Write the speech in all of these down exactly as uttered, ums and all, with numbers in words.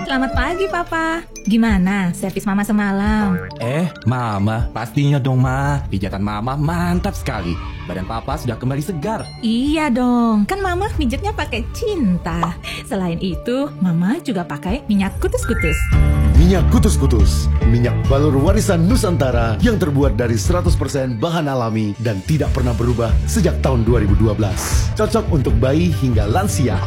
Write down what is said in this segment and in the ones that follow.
Selamat pagi, Papa. Gimana servis Mama semalam? Eh, Mama, pastinya dong, Ma. Pijatan Mama mantap sekali. Badan Papa sudah kembali segar. Iya dong, kan Mama mijitnya pakai cinta. Selain itu, Mama juga pakai minyak kutus-kutus. Minyak kutus-kutus, minyak balur warisan Nusantara yang terbuat dari seratus persen bahan alami dan tidak pernah berubah sejak tahun dua ribu dua belas. Cocok untuk bayi hingga lansia.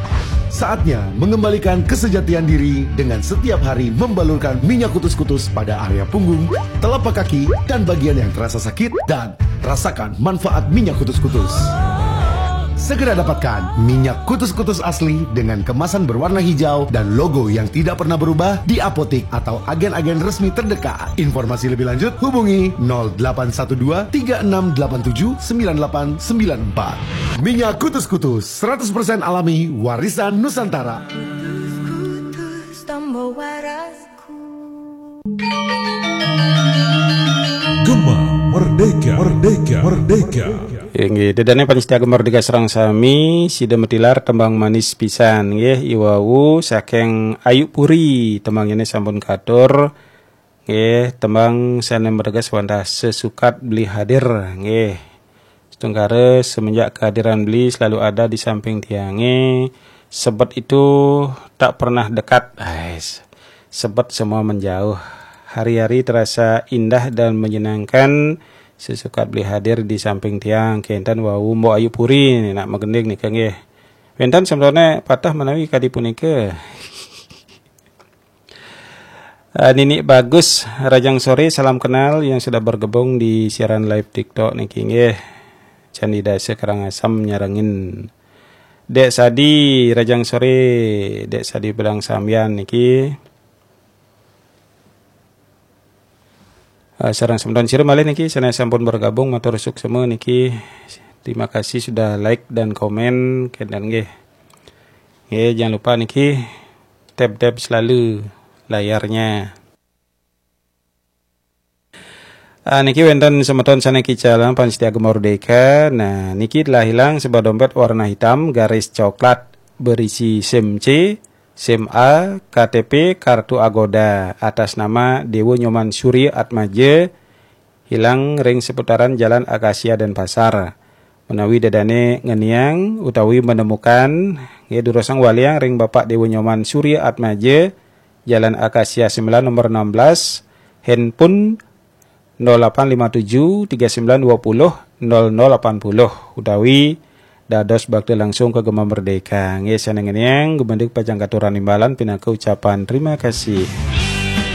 Saatnya mengembalikan kesejatian diri dengan setiap hari membalurkan minyak kutus-kutus pada area punggung, telapak kaki, dan bagian yang terasa sakit, dan rasakan manfaat minyak kutus-kutus. Segera dapatkan minyak kutus-kutus asli dengan kemasan berwarna hijau dan logo yang tidak pernah berubah di apotik atau agen-agen resmi terdekat. Informasi lebih lanjut hubungi nol delapan satu dua tiga enam delapan tujuh sembilan delapan sembilan empat. Minyak kutus-kutus seratus persen alami warisan Nusantara. Gema Merdeka, Merdeka, Merdeka. Inggih, dedane panitia Gema Merdeka sareng sami, sida matilar tembang manis pisan nggih, iwau saking Ayu Puri, tembang ini sampun katur. Nggih, tembang sane merges wantah sesukat beli hadir nggih. Setungkara semenjak kehadiran beli selalu ada di samping tiange. Sebet itu tak pernah dekat. Ais. Sebet semua menjauh. Hari-hari terasa indah dan menyenangkan. Sesukat beli hadir di samping tiang. Kenten wau Mbok Ayu Puri nak magending nika nggih. Wenten sementone patah menawi kadi punika. Uh, Nini Bagus, Rajang Sore, salam kenal yang sudah bergabung di siaran live TikTok niki nggih. Candi Dasa Karangasem nyarengin. Dek Sadi, Rajang Sore, Dek Sadi Bedang Sambian niki. Uh, sareng semeton sira malih niki sane sampun bergabung, matur suksma niki. Terima kasih sudah like dan komen kenten nggih. Nggih, jangan lupa niki tap-tap selalu layarnya. Ah, niki wenten semeton sane kicalan pan setia Gema Merdeka. Nah, niki telah hilang sebuah dompet warna hitam garis coklat berisi SIM C, SIM A, K T P, kartu Agoda atas nama Dewa Nyoman Surya Atmaja, hilang ring seputaran Jalan Akasia Denpasar. Menawi dedane ngeniang utawi menemukan, nggih durusang waliang ring Bapak Dewa Nyoman Surya Atmaja, Jalan Akasia sembilan nomor enam belas, handphone nol delapan lima tujuh tiga sembilan dua puluh nol nol delapan puluh, utawi dados bakti langsung ke Gema Merdeka. Nggih, sane ngeniang, gumanti pacang katuran imbalan pinaka ucapan terima kasih.